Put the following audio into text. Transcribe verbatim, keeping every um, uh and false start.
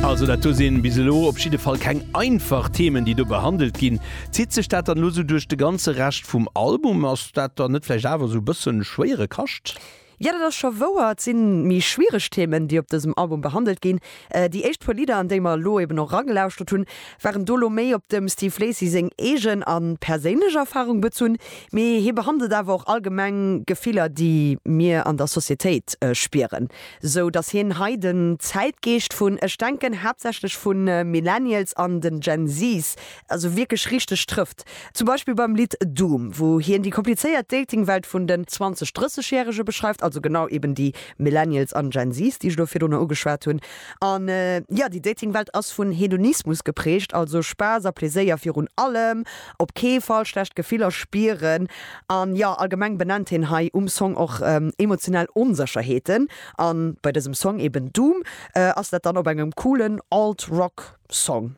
Also dat do sinn bis elo op jidde Fall keng einfach Themen, déi do behandelt ginn. Zitt sech dat dann lo sou duerch de ganze Rescht vum Album? Ass dat dann net vläicht awer sou bëssen schwéiere Kascht? Jo, dat ass scho wouer. Et sinn méi schwiereg Themen, déi op dësem Album behandelt ginn. Déi éischt puer Lidder, an déi mer elo eben och ragelauschtert hunn, waren do lo méi op dem Steve Lacy seng eegen a perséinlech Erfarung bezunn. Mee hie behandelt awer och allgemeng Gefiller, déi mir an der Societéit spieren. Sou datt hien hei den Zäitgeescht vun, ech denken haaptsächlech vu Millennials an den Gen Zs, also wierklech richteg trëfft. Zum Beispill beim Lidd Doom, wou hien déi komplizéiert Dating-Welt vun den zwanzeg-, drësseg-Järege beschreift, also genau eben déi Millennials an Gen Zs, déi ech elo virdrunner ugeschwat hunn. An jo, déi Dating-Welt ass vun Hedonismus geprägt, also Spaass a Pleséier virun allem, op kee Fall schlecht Gefiller spieren. An jo, allgemeng benennt hien hei um Song och emotionell Onsécherheeten. An bei dësem Song eben Doom ass dat dann op engem coolen Alt-Rock Song.